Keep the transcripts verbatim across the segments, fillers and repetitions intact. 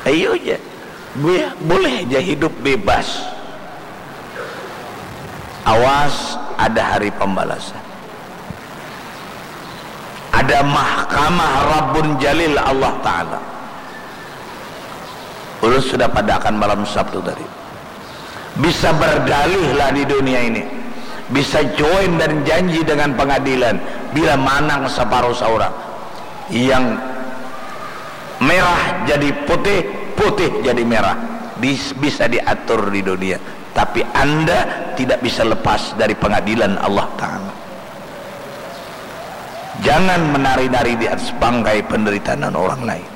Ayo aja. Boleh aja hidup bebas. Awas, ada hari pembalasan. Ada mahkamah Rabbun Jalil, Allah Ta'ala. Ulun sudah padakan malam Sabtu tadi. Bisa berdalih lah di dunia ini. Bisa join dan janji dengan pengadilan. Bila manang separuh seorang. Yang merah jadi putih, putih jadi merah. Dis-, bisa diatur di dunia. Tapi anda tidak bisa lepas dari pengadilan Allah Ta'ala. Jangan menari-nari di atas bangkai penderitaan orang lain.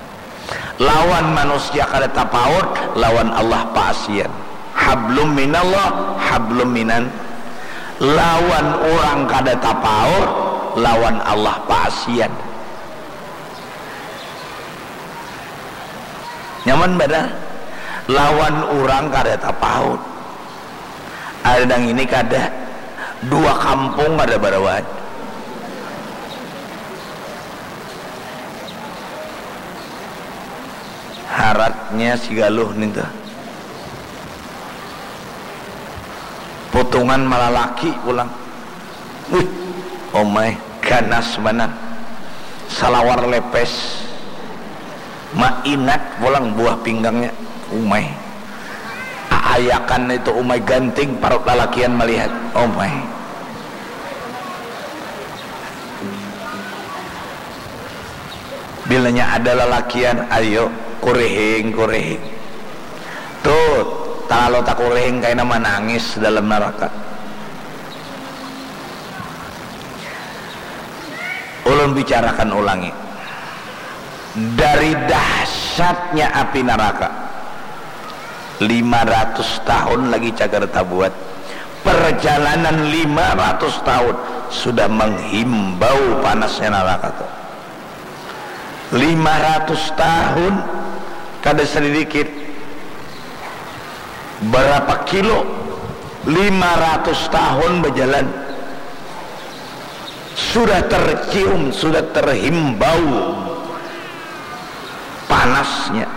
Lawan manusia kada tapaut, lawan Allah paasian. Hablum minallah, hablum minan. Lawan orang kada tapaut, lawan Allah paasian. Nyaman banar. Lawan orang kada tapaut. Ada nang ini kada. Dua kampung kada barawat. Haratnya si Galuh nih tuh. Putungan malalaki pulang. Wih, omai, ganas banar. Salawar lepes. Mainat pulang buah pinggangnya. Umai. Aayakan itu umai ganting parut lalakian malihat. Umai. Bilanya ada lalakian, ayo, kurihing, kurihing. Tuh, talalu takurihing kaina manangis dalam naraka. Ulun bicarakan ulangi. Dari dahsyatnya api naraka, lima ratus tahun lagi cagar tabuat. Perjalanan lima ratus tahun sudah menghimbau panasnya naraka tu. Lima ratus tahun kada sedikit. Berapa kilo? Lima ratus tahun berjalan. Sudah tercium, sudah terhimbau panasnya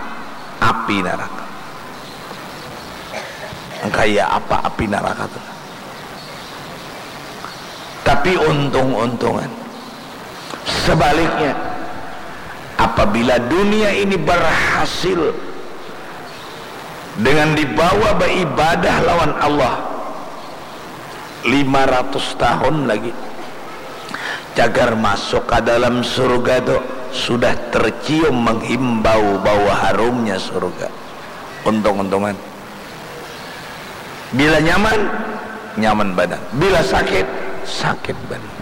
api naraka. Kaya apa api naraka tu? Tapi untung-untungan. Sebaliknya, apabila dunia ini berhasil dengan dibawa beribadah lawan Allah, lima ratus tahun lagi, cagar masuk ka dalam surga tu sudah tercium menghimbau bau harumnya surga. Untung-untungan. Bila nyaman, nyaman banar. Bila sakit, sakit banar.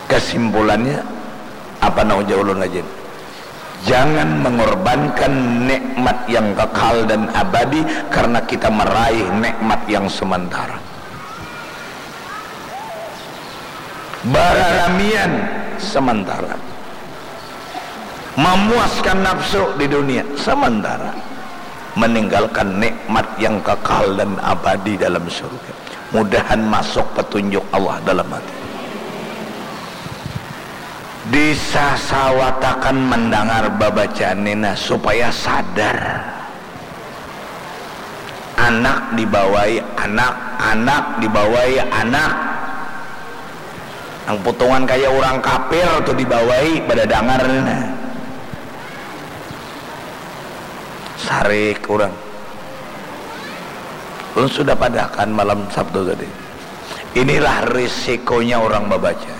Kesimpulannya, apa nang ujar ulun rajin? Jangan mengorbankan nikmat yang kekal dan abadi karena kita meraih nikmat yang sementara. Bararamian sementara. Memuaskan nafsu di dunia sementara. Meninggalkan nikmat yang kekal dan abadi dalam surga. Mudahan masuk petunjuk Allah dalam hati. Disasawatakan mendengar babacaan ini, nah, supaya sadar. Anak dibawai anak, anak dibawai anak. Nang putungan kaya urang kapir tu dibawai, badadangar ni nah. Sarik urang. Ulun sudah padahakan malam Sabtu tadi. Inilah risikonya urang babaca.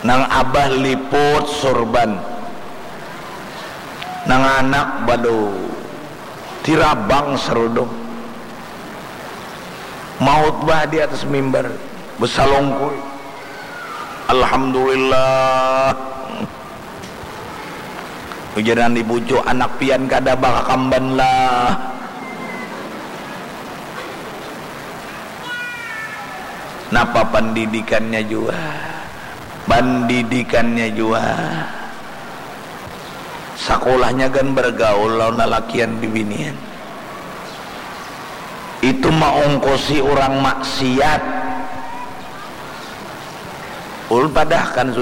Nang abah liput surban, nang anak badu tirabang sarudung, mautbah di atas mimbar, besalungkuy, "Alhamdulillah." Ujar nang dibujuk, "Anak pian kada bakakamban lah." Napa pendidikannya jua? Pendidikannya jua. Sakulahnya gan bergaul lawan lalakian bibinian. Itu maungkusi urang maksiat. Ulun padahkan